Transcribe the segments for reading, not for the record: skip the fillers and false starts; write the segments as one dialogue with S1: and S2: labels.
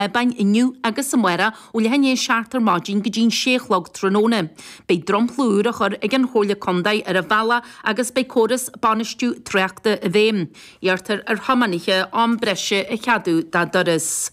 S1: Abbáin inniu agus amárach ó leath i ndiaidh a 7 ar maidin go dtí'n 6 a chlog tráthnóna. Beidh dromchla úr á chur ag an Chomhairle Contae ar an bhealach agus beidh córas bainistiú tráchta i bhfeidhm. Iarrtar ar thiománaithe am breise a cheadú dá dturas.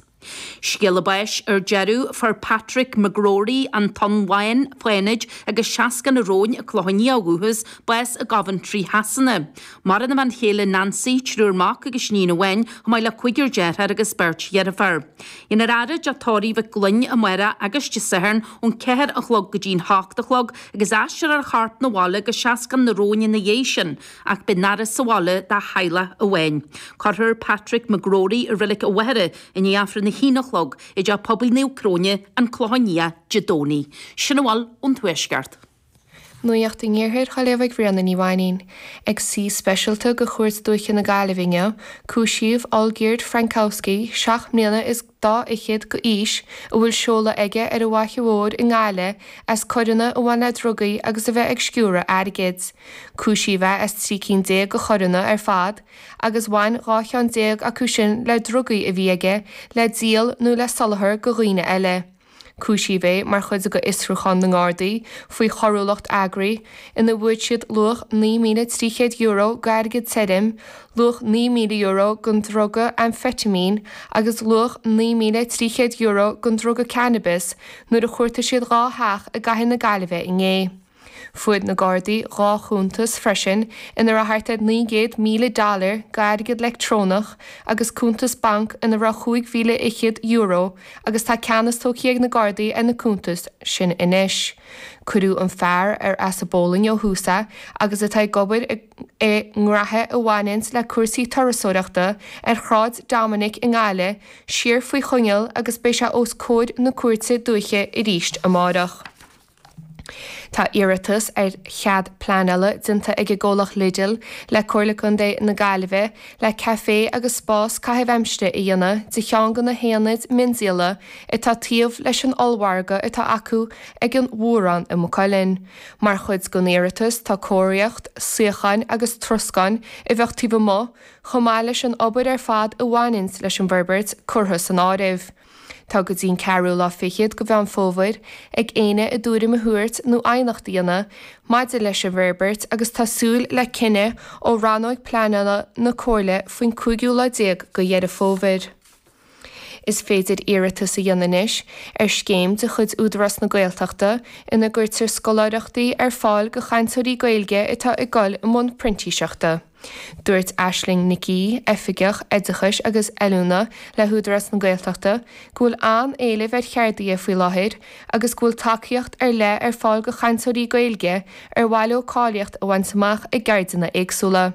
S1: Scéala báis ar deireadh, Fuair Patrick McGrory, An Tonn Bhán, Fánaid, agus 60 na Róin, Clochán Liath ó dhúchas, bás i gCoventry Shasana. Maireann a bhean chéile Nancy, triúr mac agus iníon amháin, chomh maith le cúigear deartháir agus beirt dheirféar. Déanfar faire i dTeach Tórraimh Mhic Gloinn amárach agus Dé Sathairn ón 4 a chlog go dtí'n 8 a chlog agus aistreofar a chorp 'na bhaile go Seascann na Róin ina dhiaidh sin ach beidh an fhaire sa bhaile dá theaghlach amháin. Cuirfear Patrick McGrory i Reilig a' Mhachaire i ndiaidh Aifreann a haon a chlog i dTeach Pobail Naomh Cróine, An Clochán Liath, Dé Domhnaigh. Sin a bhfuil ón Tuaisceart.
S2: Nuacht an Iarthair á léamh ag Ríona Ní Mhainín. Ag suí speisialta de Chúirt Dúiche na Gaillimhe inniu, cúisíodh Olgierd Frankowski, seacht mbliana is dá fhichead d'aois, a bhfuil seoladh aige ar an bhFaiche Mhór i nGaillimh, as coireanna a bhain le drugaí agus a bheith ag sciúradh airgid. Cúisíodh é as 13 cinn de choireanna ar fad, agus bhain 12 cheann acu sin le drugaí a bhí aige le díol nó le soláthar do dhaoine eile. Cúisíodh é mar chuid de fhiosrúchán na nGardaí faoi choiriúlacht eagraithe ina bhfuair siad luach €9,300 d'airgead tirim, luach €9,000 den druga amfeitimín agus luach €9,300 den druga cannabis nuair a chuartaigh siad dhá theach i gcathair na Gaillimhe inné. Fuair na Gardaí dhá chuntas freisin ina raibh thart ar 900,000 dollar d'airgead leictreonach agus cuntas bainc ina raibh €25,000 agus tá ceannas tógtha ag na Gardaí ar na cuntais sin anois. Cuireadh an fear, ar as an bPólainn ó thús é agus atá ag obair i ngraithe a bhaineanns le cúrsaí turasóireachta ar Shráid Dominic i nGaillimh, siar faoi choinneáil agus beidh sé os comhair na cúirte dúiche arís amárach. Tá iarratas ar chead pleanála déanta ag an gcomhlacht Lidl le Comhairle Contae na Gaillimhe le caifé agus spás caitheamh aimsire a dhéanamh de cheann de na haonaid miondíola atá taobh leis an ollmhargadh atá acu ag an Mhórán i Maigh Cuilinn. Mar chuid den iarratas tá cóiríocht, suíocháin agus troscán a bheadh taobh amuigh, chomh maith leis an obair ar fad a bhaineanns leis an bhforbairt, curtha san áireamh. Tá go dtí'n ceathrú lá fichead de Mheán Fómhair ag éinne a dtuairim a thabhairt nó aighneacht a dhéanamh maidir leis an bhforbairt agus tá súil le cinneadh ó rannóig pleanála na Comhairle faoin cúigiú lá déag de Dheireadh Fómhair. Is féidir iarratas a dhéanamh anois ar scéim de chuid Údarás na Gaeltachta ina gcuirtear scoláireachtaí ar fáil do chainteoirí Gaeilge atá ag dul i mbun printíseachta. Dúirt Aisling Nic Aoidh, Oifigeach Oideachais agus Oiliúna le hÚdarás na Gaeltachta, go bhfuil an-éileamh ar cheardaithe faoi láthair agus go bhfuil tacaíocht ar leith ar fáil do chainteoirí Gaeilge ar mhaith leo cáilíocht a bhaint amach i gceirdeanna éagsúla.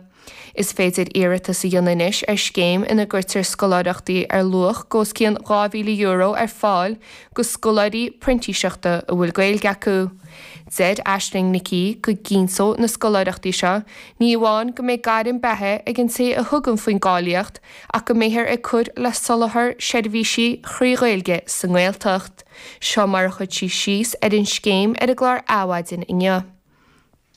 S2: Is féidir iarratas a dhéanamh anois ar scéim ina gcuirtear scoláireachtaí ar luach os cionn €2,000 ar fáil do scoláirí printíseachta a bhfuil Gaeilge acu. Deir Aisling Nic Aoidh go gcinnteoidh na scoláireachtaí seo ní amháin go mbeidh gairm beatha ag an té a thugann faoin gcáilíocht ach go mbeifear ag cur le soláthar seirbhísí thrí Ghaeilge sa nGaeltacht. Seo mar a chuir sí síos ar an scéim ar an gclár Adhmhaidin inniu.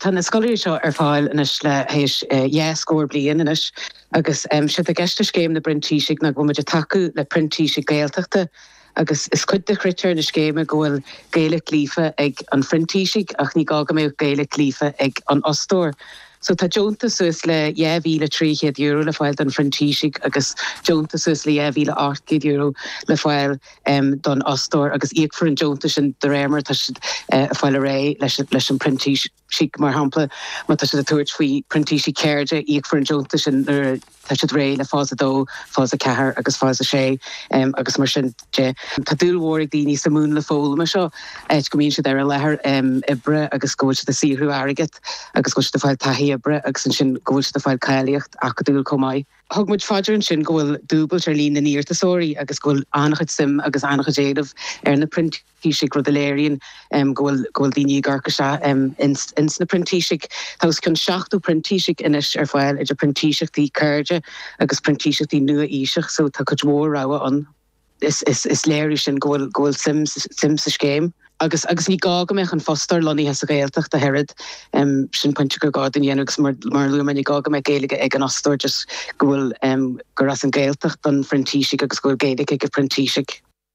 S3: Tá na scoláirí seo ar fáil anois le théis dhá scór bliain anois agus séard atá i gceist le Scéim na bPrintísigh ná go bhfuil muid ag tacú le printísigh Gaeltachta agus is cuid de chritéir na scéime go bhfuil Gaeilge líofa ag an phrintísigh ach ní gá go mbeadh Gaeilge líofa ag an fhostóir. So tá deontas suas le €2,300 le fáil don phrintísigh agus deontas suas le €2,800 le fáil don fhostóir agus íocfar an deontas sin de réir mar atá siad ag fáil ar aghaidh leis an bprintísigh. Mar shampla, má tá siad ag tabhairt faoi printísigh ceirde, íocfar an deontas sin nuair atá siad réidh le fás 2, fás 4 agus fás 6 agus mar sin de. Tá dúil mhór ag daoine sa múnla foghlama seo, áit go mbíonn siad ar an láthair oibre agus go bhfuil siad ag saothrú airgead agus go bhfuil siad ag fáil taithí oibre agus ansin go bhfuil siad ag fáil cáilíocht acadúil chomh maith. Thug muid faoi deara ansin go bhfuil dúbailt ar líon na n-iarratasóirí agus go bhfuil an-chuid suim agus an-chuid éileamh ar na printísigh, rud a léiríonn go bhfuil go bhfuil daoine ag amharc isteach ins na printísigh. Tá os cionn 70 printísigh anois ar fáil idir printíseachtaí ceirde agus printíseachtaí nua-aoiseach so tá cuid mhór rogha ann. Is léiriú sin go bhfuil go bhfuil suim suim sa scéim. Agus agus ní gá go mbeadh an fostóir lonnaithe sa Ghaeltacht ach oiread. Sin pointe gur gá dúinn a dhéanamh agus mar mar a luaigh mé ní gá go mbeadh Gaeilge ag an fhostóir just go bhfuil gur as an Ghaeltacht don phrintísigh agus go bhfuil Gaeilge ag an phrintísigh.